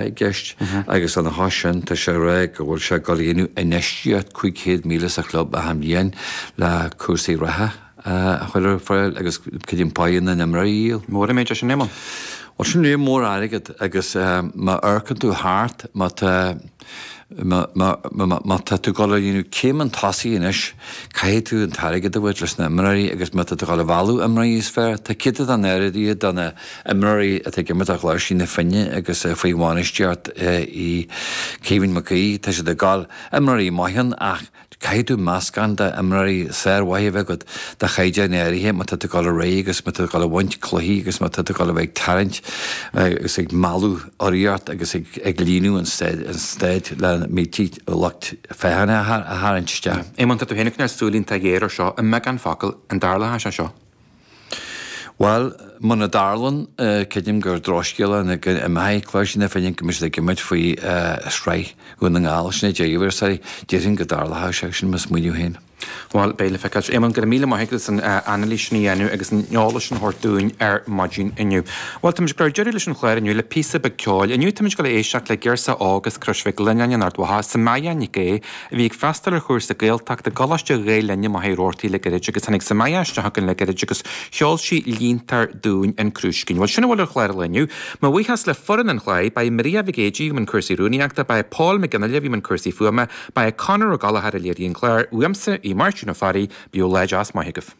I gceist agus lena chois sin tá sé ag rá go bhfuil sé ag dul a dhéanamh infheistíocht 500,000 sa chlub achan bhliain le cúrsaí reatha a chur ar fáil agus creidim páighe na n-imreoirí a dhíol. Mór an méid é sin, Éamonn. Bhuel sin léar mór airgead agus má amharcann tú thart má tá Má tá tú ag dul a dhéanamh céim chun tosaigh anois, caithfidh tú an t-airgead a thabhairt leis na imreoirí agus má tá tú ag dul a mhealladh imreoirí is fearr, tá céatadán áirithe de na imreoirí atá ag imirt do Chláirsigh na Finne agus faoi bhainistíocht Uí Caoimhín Mac Aoidh, tá siad ag dul, imreoirí maithe ann ach caithfidh tú meascán de imreoirí sármhaithe a bheith agat de chaighdeán áirithe má tá tú ag dul ar aghaidh agus má tá tú ag dul a bhaint cluichí agus má tá tú ag dul a bheith ag tarraingt agus ag mealladh urraíocht agus ag líonadh an staid le mílte lucht féachana a tharraingt isteach. Éamonn, tá tú féin ag coinneáil súil iontach ghéar ar seo, i mbeagán focal, an dtarlóidh sé seo? Bhuel, muna dtarlann, creidim gur drochscéal é go imeoidh Cláirsigh na Finne, go mbeidh siad ag imirt faoi shraith Dhún na nGall. Sin é deireadh ar sorry, déarfainn go dtarlódh sé sin, mo smaoineamh féin. Bhuel, beidh le feiceáil. Éamonn, go raibh míle maith agat as an anailís sin a dhéanamh agus an eolas sin a thabhairt dúinn ar maidin inniu. Bhuel, táimid ag cur deireadh leis an chlár inniu le píosa beag ceoil. Inniu táimid ag dul a éisteacht le girseach óg as Crois Mhic Lionnáin in Ard Mhacha, Samaya Nic Aodha, a bhí ag freastal ar chúrsa Gaeltachta i gColáiste Ghael Linn i Machaire Rabhartaigh le gairid agus tháinig Samaya isteach chugainn le gairid agus cheol sí línte dúinn An Crúiscín. Bhuel, sin a bhfuil ar chlár an lae inniu. Mo bhuíochas le foireann an chláir, ba é Maria Mhic Éadaigh i mbun cúrsaí rúnaíochta, ba é Paul Mac Fhionnghaile a bhí i mbun cúrsaí fuaime, ba é Conor Ó Gallchóir a léirigh an clár, uaimse, í Máirtín Ó Fearraigh, bíodh lá deas maith agaibh.